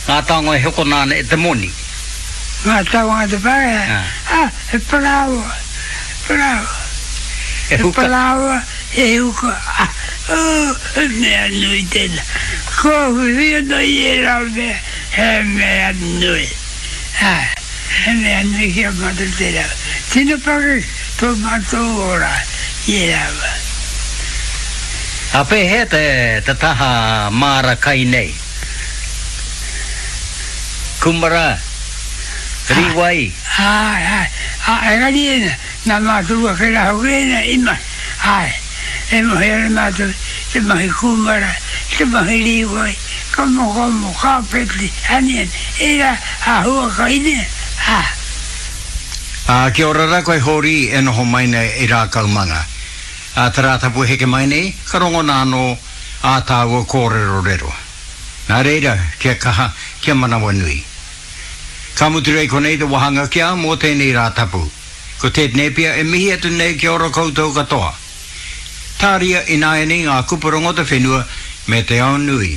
Ngā taonga e hokona ana e te moni. Ngā taonga a te Pākehā? Ā, he parāoa, he parāoa. He huka. He parāoa, he huka. Ā, ū, he mea nui tēnā. Kua whiwhi anō i ērā mea, he mea nui. Āe, he mea nui ki a mātou tērā. Tino pakeke tō mātou ora i ērā wā. Ā pēhea te, te taha māra kai nei? Kumara, rīwai. Āe, āe, ā, engari ēnā, nā mātou ake rā hoki ēnā i mahi, āe, e moe ana mātou te mahi kūmara, te mahi rīwai, kamokamo, kāpeti, aniani, ērā āhua kai nē, ā. Ā, kia ora rā koe Hōri e noho mai nei i Rākaumanga. Ā te Rātapu heke mai nei, ka rongona anō ā tāua kōrerorero. Nā reira, kia kaha, kia manawanui. Ka mutu rei konei te wahanga ki a mō tēnei Rātapu. Ko Ted Nēpia e mihi atu nei kia ora koutou katoa. Tāria ināianei ngā kupu rongo te whenua me te ao nui.